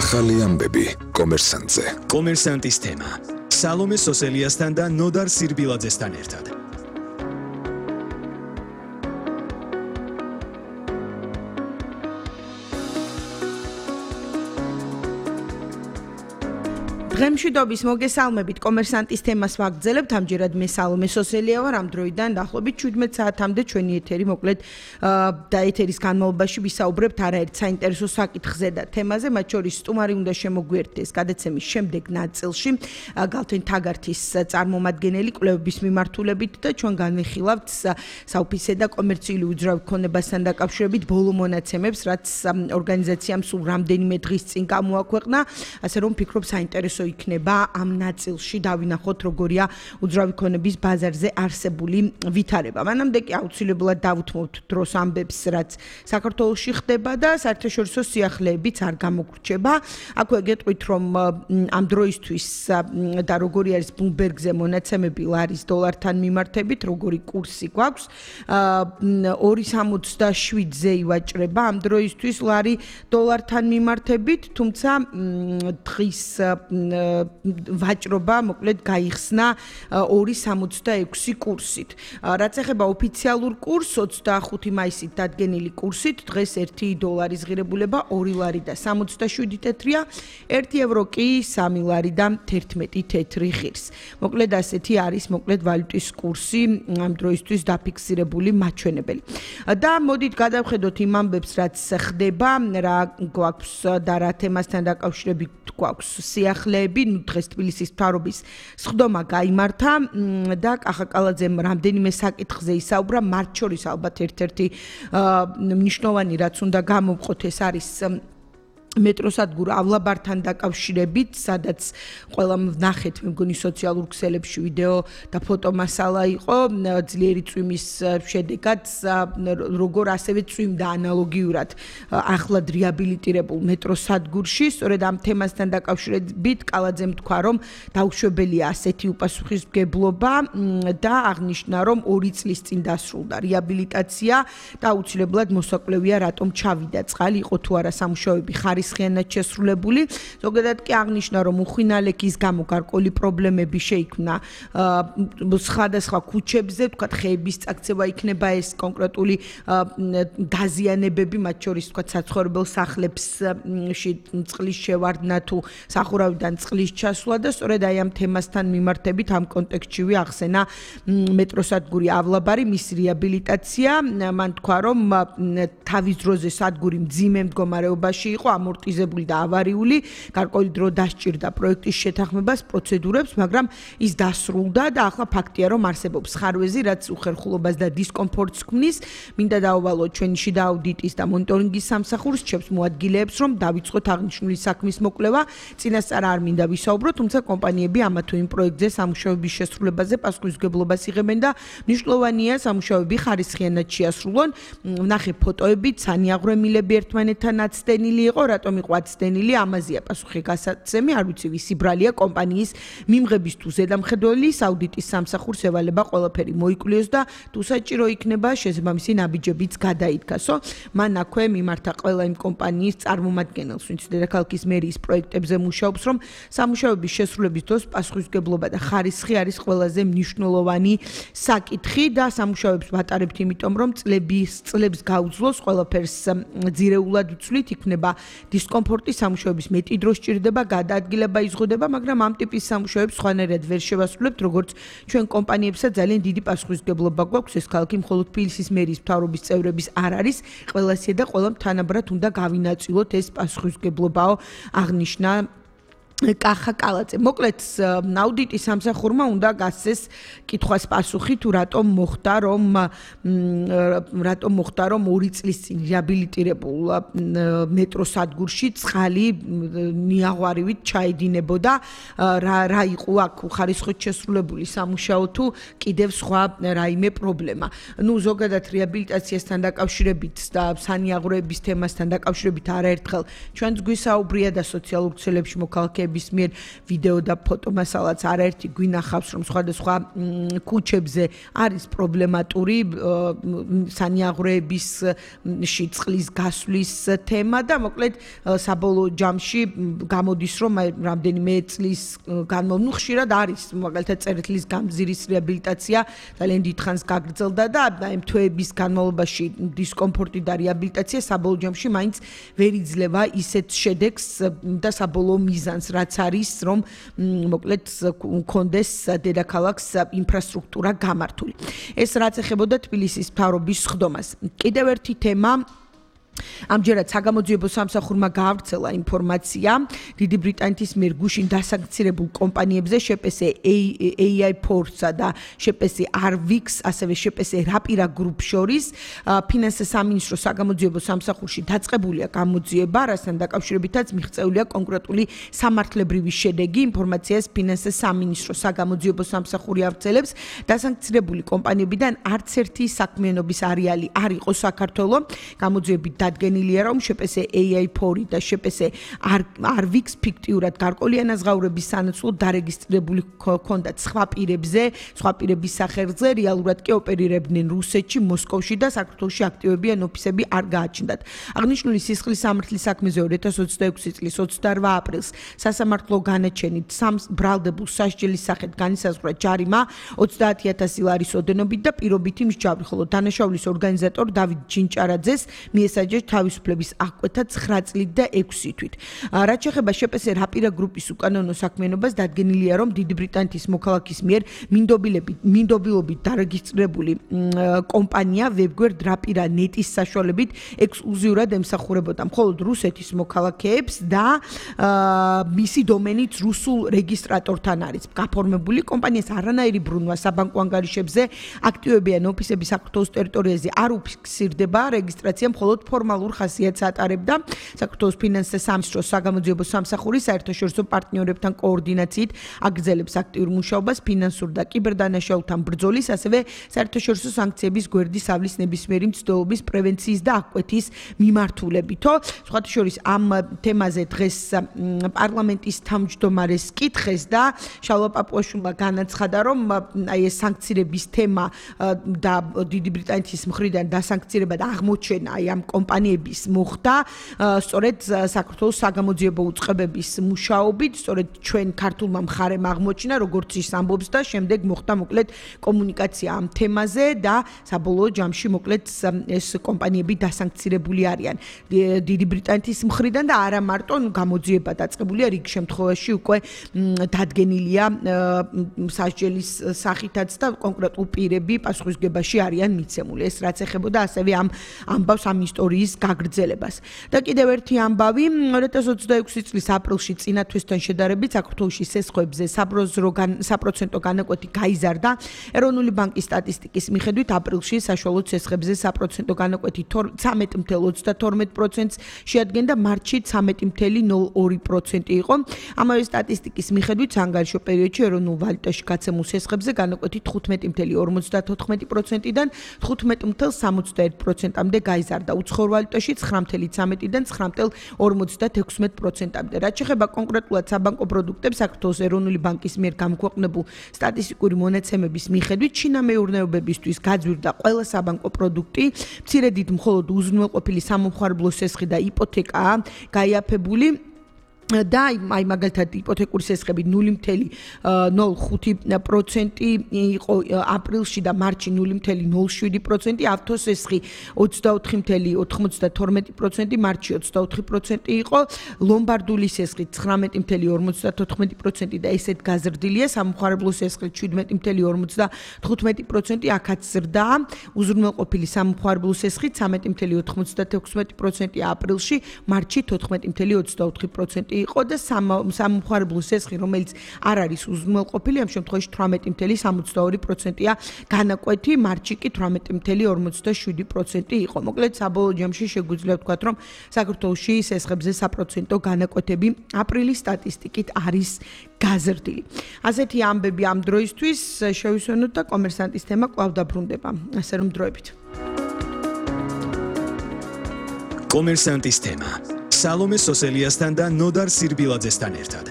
ახალი ამბები კომერსანტზე. კომერსანტის თემა. სალომე სოსელიასთან და ნოდარ სირბილაძესთან ერთად. დღემშვიდობის მოგესალმებით კომერსანტის თემას ვაგრძელებთ. ამჯერად მე სალომე სოსელია ვარ. ამ დროიდან დაახლოებით 17 საათამდე ჩვენი ეთერი მოკლედ და ეთერის განმავლობაში ვისაუბრებთ არაერთ საინტერესო საკითხზე და თემაზე, მათ შორის სტუმარი უნდა შემოგვიერთდეს გადაცემის შემდეგ ნაწილში გალთენ თაგართის წარმომადგენელი კვლევების მიმართულებით და ჩვენ განვიხილავთ საოფისე და კომერციული უძრავი ქონებასთან დაკავშირებით ბოლო მონაცემებს, რაც ორგანიზაციამ სულ რამდენიმე დღის წინ გამოაქვეყნა, ასე რომ ვფიქრობ საინტერესო იქნება ამ ნაწილში დავინახოთ როგორია უძრავი ქონების ბაზარზე არსებული ვითარება. მანამდე კი აუცილებლად დავუთმოთ დროს ამბებს, რაც საქართველოში ხდება და საერთაშორისო სიახლეებიც არ გამოგვრჩება. აქვე გეტყვით, რომ ამ დროისთვის და როგორი არის ბლუმბერგზე მონაცემები ლარის დოლართან მიმართებით, როგორი კურსი გვაქვს. 2.67-ზე ივაჭრება ამ დროისთვის ლარი დოლართან მიმართებით, თუმცა დღის ვაჭრობა მოკლედ გაიხსნა 2.66 კურსით. რაც ეხება ოფიციალურ კურსს 25 მაისით დადგენილი კურსით, დღეს 1 დოლარის ღირებულება 2 ლარი და 67 თეთრია, 1 ევრო კი 3 ლარი და 11 თეთრი ღირს. მოკლედ ასეთი არის მოკლედ ვალუტის კურსი ამ დროისთვის დაფიქსირებული მაჩვენებელი. და მოდით გადავხედოთ იმ ამბებს, რაც ხდება, რა გვაქვს და რა თემასთან დაკავშირებით გვაქვს სიახლეები. დღეს თბილისის მთავრობის სხდომა გაიმართა და კახაკალაძემ რამდენიმე საკითხზე ისაუბრა, მათ შორის ალბათ ერთ-ერთი მნიშვნელოვანი რაც უნდა გამოვყოთ, ეს არის მეტროსადგურ ავლაბართან დაკავშირებით, სადაც ყველამ ვნახეთ, მე მგონი სოციალურ ქსელებში ვიდეო და ფოტომასალა იყო ძლიერი წვიმის შედეგად, როგორ ასევე წვიმდა ანალოგიურად ახლად რეაბილიტირებულ მეტროსადგურში. სწორედ ამ თემასთან დაკავშირებით კალაძემ თქვა, რომ დაუშვებელია ასეთი უპასუხისმგებლობა და აღნიშნა, რომ 2 წლის წინ დასრულდა რეაბილიტაცია და აუცილებლად მოსაკლევია, რატომ ჩავიდა წყალი, იყო თუ არა სამუშაოები ხარისხიანად შესრულებული. ზოგადად კი აღნიშნა, რომ უხვინალექის გამო გარკვეული პრობლემები შეიქმნა სხვადასხვა ქუჩებზე, თქვათ ხეების წაქცევა იქნება ეს კონკრეტული დაზიანებები, მათ შორის თქვათ საცხოვრებელ სახლებში წყლის შევარდნა თუ სახურავიდან წყლის ჩასვლა და სწორედ აი ამ თემასთან მიმართებით ამ კონტექსტში ახსენა მეტროსადგური ავლაბარი, მისი რეაბილიტაცია. მან თქვა, რომ თავის დროზე სადგური მძიმე მდგომარეობაში იყო, ამორტიზებული და ავარიული, გარკვეული დრო დასჭირდა პროექტის შეთანხმებას, პროცედურებს, მაგრამ ის დასრულდა და ახლა ფაქტია, რომ არსებობს ხარვეზი, რაც უხერხულობას და დისკომფორტს ქმნის. მინდა დავავალოთ ჩვენი შიდა აუდიტის და მონიტორინგის სამსახურს, ჩემს მოადგილეებს, რომ დავიწყოთ აღნიშნული საქმის მოკვლევა. წინასწარ არ მინდა ვისაუბრო, თუმცა კომპანიები ამა თუ იმ პროექტზე სამუშაოების შესრულებაზე პასუხისმგებლობას იღებენ და მნიშვნელოვანია სამუშაოები ხარისხიანად შეასრულონ. ვნახე ფოტოებით, სანიაღვრემილები ერთმანეთთან აცდენილი იყო, რატომ იყო აცდენილი, ამაზეა პასუხი გასაცემი, არ ვიცი ვისი ბრალია კომპანიის მიმღების თუ ზედამხედველის აუდიტის სამსახურს ევალება ყველაფერი მოიკვლიოს და თუ საჭირო იქნება შესაბამისი ნაბიჯებიც გადაიდგასო. მან აქვე მიმართა ყველა იმ კომპანიის წარმომადგენელს, ვინც დედაქალაქის მერიის პროექტებზე მუშაობს, რომ სამუშაოების შესრულების დროს პასუხისმგებლობა და ხარისხი არის ყველაზე მნიშვნელოვანი საკითხი და სამუშაოებს ვატარებთ იმიტომ, რომ წლებს გაუძლოს ყველაფერს ძირეულად ვცვლით, იქნება დისკომფორტი, სამუშაოების მეტი დრო სჭირდება, გადაადგილება იზღუდება, მაგრამ ამ ტიპის სამუშაოებს სხვანაირად ვერ შევასრულებთ, როგორც ჩვენ კომპანიებსაც ძალიან დიდი პასუხისმგებლობა გვაქვს. ეს ქალაქი მხოლოდ თბილისის მერიის მთავრობის წევრების არ არის, ყველასია და ყველამ თანაბრად უნდა გავინაწილოთ ეს პასუხისმგებლობაო, აღნიშნა კახაკალაძე. მოკლედ აუდიტის სამსახურმა უნდა გასცეს კითხვას პასუხი, თუ რატომ მოხდა, რომ 2 წლის წინ რეაბილიტირებულ მეტროსადგურში წყალი ნიაღვარივით ჩაედინებოდა, რა იყო აქ ხარისხით შესრულებული სამუშაო თუ კიდევ სხვა რაიმე პრობლემა. ზოგადად რეაბილიტაციასთან დაკავშირებით და სანიაღვროების თემასთან დაკავშირებით არაერთხელ ჩვენც გვისაუბრია და სოციალურ ქსელებში მოქალაქეები კომპანიების მიერ ვიდეო და ფოტომასალაც არაერთი გვინახავს, რომ სხვადასხვა ქუჩებზე არის პრობლემატური სანიაღვრეების წყლის გასვლის თემა და მოკლედ საბოლოო ჯამში გამოდის, რომ რამდენიმე წლის განმავლობაში ხშირად არის მაგალითად წერეთლის გამზირის რეაბილიტაცია ძალიან დიდხანს გაგრძელდა და ამ თვეების განმავლობაში დისკომფორტი და რეაბილიტაცია საბოლოო ჯამში მაინც ვერ იძლევა ისეთ შედეგს და საბოლოო მიზანს, რაც არის, რომ მოკლედ კონდეს დედაქალაქს ინფრასტრუქტურა გამართული. ეს რაც ეხებოდა თბილისის მთავრობის სხდომას. კიდევ ერთი თემა ამჯერად საგამოძიებო სამსახურმა გაავრცელა ინფორმაცია დიდი ბრიტანეთის მიერ გუშინ დასანქცირებულ კომპანიებზე შეპესე AI Ports-ა და შეპესე Arvix, ასევე შეპესე Rapira Group შორის ფინანსთა სამინისტროს საგამოძიებო სამსახურში დაწყებულია გამოძიება, რასთან დაკავშირებითაც მიღწეულია კონკრეტული სამართლებრივი შედეგი. ინფორმაციას ფინანსთა სამინისტროს საგამოძიებო სამსახური ავრცელებს დასანქცირებული კომპანიებიდან არც ერთი საქმიანობის არეალი არ იყო საქართველოს. გამოძიებით დადგენილია, რომ შეპესე AI Port და შეპესე Arvix ფიქტიურად გარკვეული ანაზღაურების სანაცვლოდ დარეგისტრირებული ჰქონდათ სხვა პირების სახელზე, რეალურად კი ოპერირებდნენ რუსეთში, მოსკოვში და საქართველოში აქტივებიან ოფისები არ გააჩნდათ. აღნიშნული სისხლის სამართლის საქმეზე 2026 წლის 28 აპრილს სასამართლო განაჩენით ბრალდებულ სასჯელის სახით განისაზღვრა ჯარიმა 30,000 ლარის ოდენობით და პირობითი მსჯავრი, ხოლო დანაშაულის ორგანიზატორ დავით ჯინჭარაძეს მიესაჯა თავისუფლების აღკვეთა 9 წლით და 6 თვით. რაც შეეხება შეპესე Rapira Group-ის უკანონო საქმიანობას, დადგენილია, რომ დიდი ბრიტანეთის მოქალაქის მიერ მინდობილობით დარეგისტრირებული კომპანია ვებგვერდ Rapira.net-ის საშუალებით ექსკლუზიურად ემსახურებოდა მხოლოდ რუსეთის მოქალაქეებს და მისი დომენით რუსულ რეგისტრატორთან არის გაფორმებული. კომპანიას არანაირი ბრუნვა საბანკო ანგარიშებზე აქტივებიან ოფისები საქართველოს ტერიტორიაზე არ უფიქსირდება, რეგისტრაცია მხოლოდ ფორმალურ ხასიათს ატარებდა. საქართველოს ფინანსთა სამინისტროს საგამოძიებო სამსახური საერთაშორისო პარტნიორებთან კოორდინაციით აგრძელებს აქტიურ მუშაობას ფინანსურ და კიბერდანაშაულთან ბრძოლის, ასევე საერთაშორისო სანქციების გვერდის ავლის ნებისმიერი მცდელობის პრევენციის და აღკვეთის მიმართულებითო. სხვათა შორის ამ თემაზე დღეს პარლამენტის თავმჯდომარეს კითხეს და შალვა პაპუაშვილმა განაცხადა, რომ აი ეს სანქცირების თემა და დიდი ბრიტანეთის მხრიდან დასანქცირება და აღმოჩენა აი ამ კომპანიების მოხდა სწორედ საქართველოს საგამოძიებო უწყებების მუშაობით, სწორედ ჩვენ ქართულმა მხარემ აღმოჩინა, როგორც ის ამბობს და შემდეგ მოხდა მოკლედ კომუნიკაცია ამ თემაზე და საბოლოო ჯამში მოკლედ ეს კომპანიები დასანქცირებული არიან დიდი ბრიტანეთის მხრიდან და არა მარტო გამოძიება დაწყებულია, რიგ შემთხვევაში უკვე დადგენილია სასჯელის სახითაც და კონკრეტულ პირები პასუხისმგებაში არიან მიცემული. ეს რაც ეხებოდა ასევე ამ ამბავს ამ ისტორიის გაგრძელებას. და კიდევ ერთი ამბავი 2026 წლის აპრილში წინა თვესთან შედარებით საქართველოში სესხებზე საპროცენტო განაკვეთი გაიზარდა. ეროვნული ბანკის სტატისტიკის მიხედვით აპრილში საშუალო სესხებზე საპროცენტო განაკვეთი 13.32%-ს შეადგენდა, მარტში 13.02% იყო. ამავე სტატისტიკის მიხედვით საანგარიშო პერიოდში ეროვნულ ვალუტაში გაცემულ სესხებზე განაკვეთი 15.54%-დან 15.71%-მდე გაიზარდა. უცხოურ ვალუტაში 9.13-დან 9.56%-მდე. რაც შეეხება კონკრეტულად საბანკო პროდუქტებს, საქართველოს ეროვნული ბანკის მიერ გამოქვეყნებულ სტატისტიკური მონაცემების მიხედვით ჩინამეურნეობებისთვის გაძვირდა ყველა საბანკო პროდუქტი, მცირე დიდ მხოლოდ უზრუნველყოფილი სამომხმარებლო სესხი და იპოთეკაა გაიაფებული. და აი მაგალითად იპოთეკური სესხები 0.05% იყო აპრილში და მარტში 0.07%, ავტოსესხი 24.92%, მარტში 24% იყო, ლომბარდული სესხი 19.54% და ესეთ გაზრდილია, სამომხმარებლო სესხი 17.55%, აქაც ზრდა, უზრუნველყოფილი სამომხმარებლო სესხი 13.96% აპრილში, მარტში 14.24% იყო და სამომხმარებლო სესხი, რომელიც არ არის უზრუნველყოფილი, ამ შემთხვევაში 18.62%-ია განაკვეთი, მარტში კი 18.47% იყო. მოკლედ საბოლოო ჯამში შეგვიძლია ვთქვათ, რომ საქართველოში სესხებზე საპროცენტო განაკვეთები აპრილის სტატისტიკით არის გაზრდილი. ასეთი ამბები ამ დროისთვის შევისვენოთ და კომერსანტის თემა კვლავ დაბრუნდება. ასე რომ დროებით. კომერსანტის თემა. სალომე სოსელიასთან და ნოდარ სირბილაძესთან ერთად.